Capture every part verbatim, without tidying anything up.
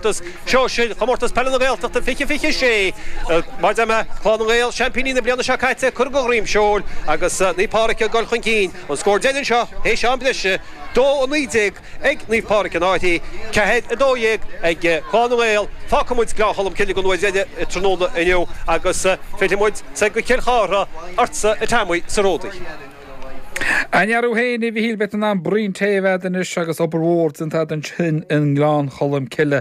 Sóisir Chomórtas Peile na Gaeltachta fiche fiche sé mar a deir mé Clann na nGael seaimpíní na bliana seo caite curtha de dhroim seoil agus Naomh Pádraig ag dul chun cinn an scór deiridh anseo théis am breise dó a naoi déag ag Naomh Pádraig an Fhairche ceathair a dó dhéag ag Clann na nGael fágfaidh muid Gleann Cholm Cille don uair deiridh tráthnóna inniu agus fillfidh muid go Cill Chartha ortsa a Tommy sa Ródaí. An dearbh féin i bhíhíl bet an an bruíon taobh anois agus obair mhór déanta ansin i nGleann Cholm Cille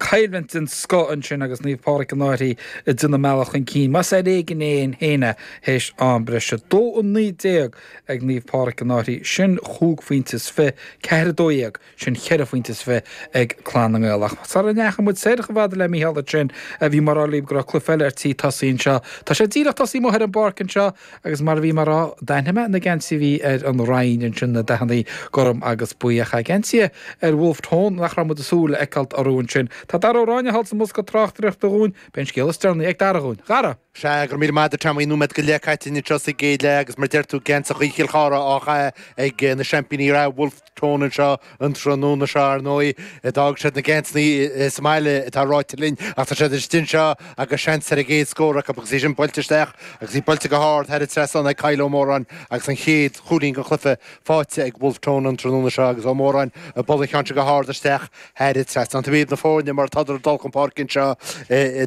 coimhlint den scoth ansin agus Naomh Pádraig an Fhairche ag déanamh a mbealach chun cinn. Mas ar éigean é féin théis am breise dó a naoi déag ag Naomh Pádraig an Fhairche sin chúig phointe is fiche ceathair a dó dhéag sin ceithre phointe is fiche ag Clann na nGael. Ach sara ndeachaigh muid soir chomh fada le Mícheál sin a bhí mar líb go raibh cluiche eile ar tí tosaí anseo. Tá sé díreach tosaithe amuigh ar an bpáirc anseo agus mar a bhí mar á d'aithin mé na geansaithe bhí ar an Rinn ansin na dathanna gorm agus buí ach geansaithe ar Wolfe Tone nach raibh muid ag súil a fheiceáil orthu ansin. Tá Dara Ó Ráinne thall sa mbosca tráchtaireachta dúinn, beidh an scéal is deireanaí ag Dara dhúinn. Dhara! Sea go raibh míle maith agat Tommy nóiméad go leith caite anseo sa gcéad leath agus mar deir tú geansaithe Chill Chartha á chaitheamh ag na seaimpíní reatha Wolfe Tone anseo an tráthnóna seo ar ndóigh d'fhág siad na geansaithe sa mbaile atá ráite linn ach tá siad istigh anseo agus seans ar a gcéad scór acu agus í sin buailte isteach agus í buailte go hard thar an trasnán ag Kyle Ó Móráin agus an chéad chúilín den chluiche faighte ag Wolfe Tone an tráthnóna seo agus Ó Móráin ag bualadh an cheann seo go hard isteach thar an trasnán. Tá na foirne mar atá ag dul chun páirce anseo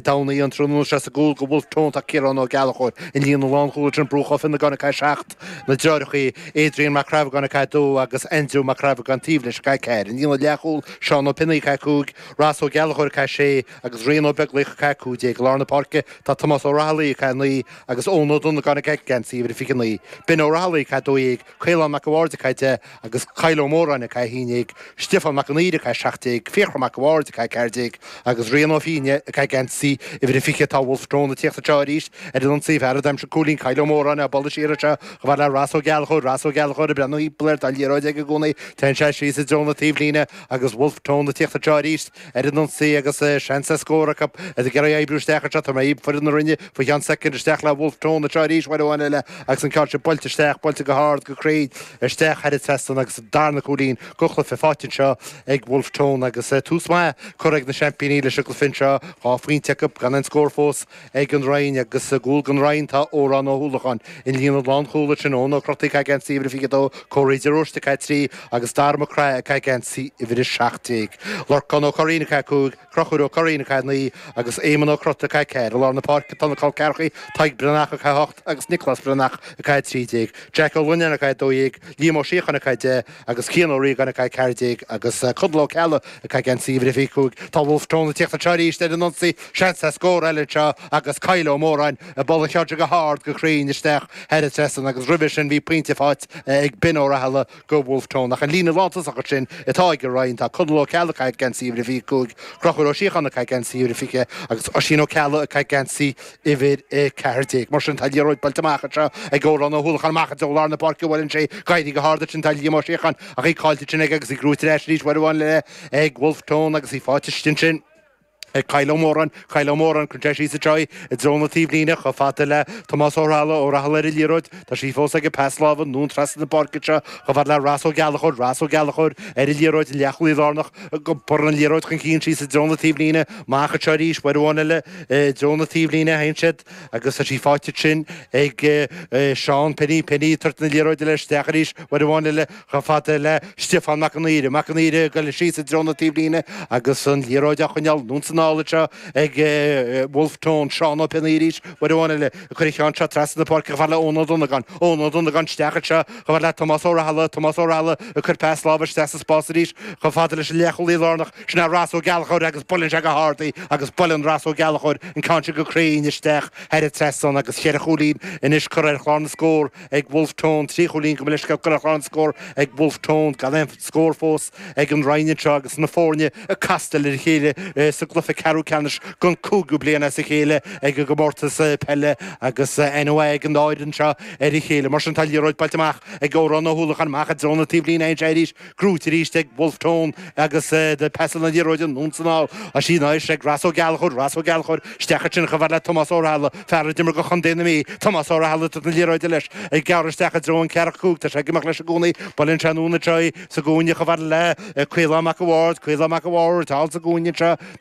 Domhnaigh an tráthnóna seo sa gcúl go Wolfe Tone tá Ciarán Ó Gallchóir i líne lánchúil sin Brúch Ó Fionnagáin ag seacht na deartháireacha Adrian Mac Crabhagáin ag dó agus Andrew Mac Crabhagáin taobh leis ag ceathair. In líne leathchúil Seán Ó Pionnaí ag cúig, Ross Ó Gallchóir ag sé agus Rian Ó Beaglaoich ag cúig déag. I lár na páirce tá Tomás Ó Raghallaigh ag naoi agus Eoin Ó Donnacáin ag geansaí uimhir fiche naoi. Ben Ó Raghallaigh ag dó dhéag, Caolán Mac an Bhaird ag deich agus Kyle Ó Móráin ag haon déag, Stiofán Mac an Aoire ag seacht déag, Fiachra Mac an Bhaird ag ceathair déag agus Rian Ó Fíne ag geansaí uimhir fiche tá Wolfe Tone ag tíocht anseo arís ar an ionsaí fear a d'aimsigh cúilín Kyle Ó Móráin á bualadh siar anseo chomh fada le Ross Ó Gallchóir, Ross Ó Gallchóir ag breathnú thimpeall air tá liathróid aige i gcónaí téann sé síos i dtreo na taobhlíne agus Wolfe Tone ag tíocht anseo arís ar an ionsaí agus seans ar scór acu ag iarraidh oibriú isteach anseo tá mé foireann na Rinne faoi cheann soicind isteach le Wolfe Tone anseo arís uair amháin eile agus an ceann sin buailte isteach buailte go hard go cruinn isteach thar an trasnán agus darna cúilín den chluiche faighte anseo ag Wolfe Tone agus tús maith curtha ag na seaimpíní leis an gcluiche anseo dhá phointe acu gan aon scór fós ag an Rinn agus i gcúl don Rinn tá Órán Ó hUallacháin in líne lánchúil sin Eoin Ó Crotaigh ag geansaí uimhir fiche dó Córaí de Róiste ag trí agus Dara Mac Craith ag geansaí uimhir seacht déag. Lorcán Ó Curraoin ag cúig, Crochúr Ó Curraoin ag naoi agus Éamonn Ó Crota ag ceathair. I lár na páirce tá na col ceathracha Tadhg Breathnach ag hocht agus Nioclás Breathnach ag trí déag. Jack Ó Luineáin ag dó dhéag, Liam Ó Síocháin ag deich agus Cian Ó Ríogáin ag ceathair déag agus Conall Ó Ceallaigh ag geansaí uimhir fiche cúig. Tá Wolfe Tone ag tíocht anseo arís ar an ionsaí seans ar scór eile anseo agus Kyle Ó Móráin ag bualadh an cheann seo go hard go cruinn isteach thar an trasnán agus roimhe sin bhí pointe faighte ag Ben Ó Rathaille go Wolfe Tone ach an líne lántosach sin atá ag an Rinn tá Conall Ó Ceallaigh ag geansaí uimhir fiche cúig, Crochúr Ó Síocháin ag geansaí uimhir fiche agus Oisín Ó Ceallaigh ag geansaí uimhir ceathair déag. Mar sin tá liathróid buailte amach anseo ag Órán Ó hUallacháin amach i lár na páirce bhfuil sé éirithe go hard sin tá Liam Ó Síocháin ach í caillte sin aige agus í gnóthaithe ar ais arís uair amháin eile ag Wolfe Tone agus í faighte sin ag Kyle Ó Móráin Kyle Ó Móráin chun sé sí sa i dtreo na taobhlíne chomh fada le Tomás Ó Rathaille Ó Rathaille ar an liathróid Tá sí fós aige pas láimhe anonn trasna na páirce seo chomh fada le Ross Ó Gallchóir Ross Ó Gallchóir ar an liathróid an leathchúlaí lárnach iompar an liathróid chun cinn sí sa dtreo na taobhlíne amach anseo arís uair amháin eile i dtreo na taobhlíne théann siad agus tá sí faighte sin ag Seán Penny Penny ag tabhairt na liathróide le isteach arís uair amháin eile chomh fada le Stiofán Mac an Aoire Mac an Aoire ag goil síos i dtreo na taobhlíne agus an liathróid á choinneáil anonn is anall seo ag Wolfe Tone Seán Ó Penny arís uair amháin eile chuir an ceann seo trasna na páirce chomh fada le Eoin Ó Donnagáin Eoin Ó Donnagáin isteach anseo chomh fada le Tomás Ó Rathaille Tomás Ó Rathaille ag cur pas láimhe isteach sa spás arís chomh fada leis an leathchúlaí lárnach sin é Ross Ó Gallchóir agus buaileann sé go hard í agus buaileann Ross Ó Gallchóir an ceann sin go cruinn isteach thar an trasnán agus cheithre chúilín anois curtha ar chlár na scór ag Wolfe Tone trí chúilín go leis curtha ar chlár na scór ag Wolfe Tone gan aon scór fós ag an Rinn anseo agus na foirne ag castáil ar a chéile sa gcluiche babhta ceathrú ceannais don cúigiú bliain as a chéile ag an gcomórtas peile agus aithne mhaith ag an dá fhoireann seo ar a chéile. Mar sin tá liathróid buailte amach ag Odhrán Ó hUallacháin amach i dtreo na taobhlíne anseo arís, gnóite arís ag Wolfe Tone agus pasáil na liathróide anonn is anall. Tá sí anois ag Ross Ó Gallchóir, Ross Ó Gallchóir isteach ansin chomh fada le Tomás Ó Rathaille, fear a d'imir do chontae na Mí, Tomás Ó Rathaille ag tabhairt na liathróide leis ag gearradh isteach i dtreo an ceathracha cúig. Tá sé ag imeacht leis i gcónaí. Buaileann sé anonn anseo í sa gcúinne chomh fada le Caolán Mac a' Bhaird, Caolán Mac a' Bhaird thall sa gcúinne anseo. Tá.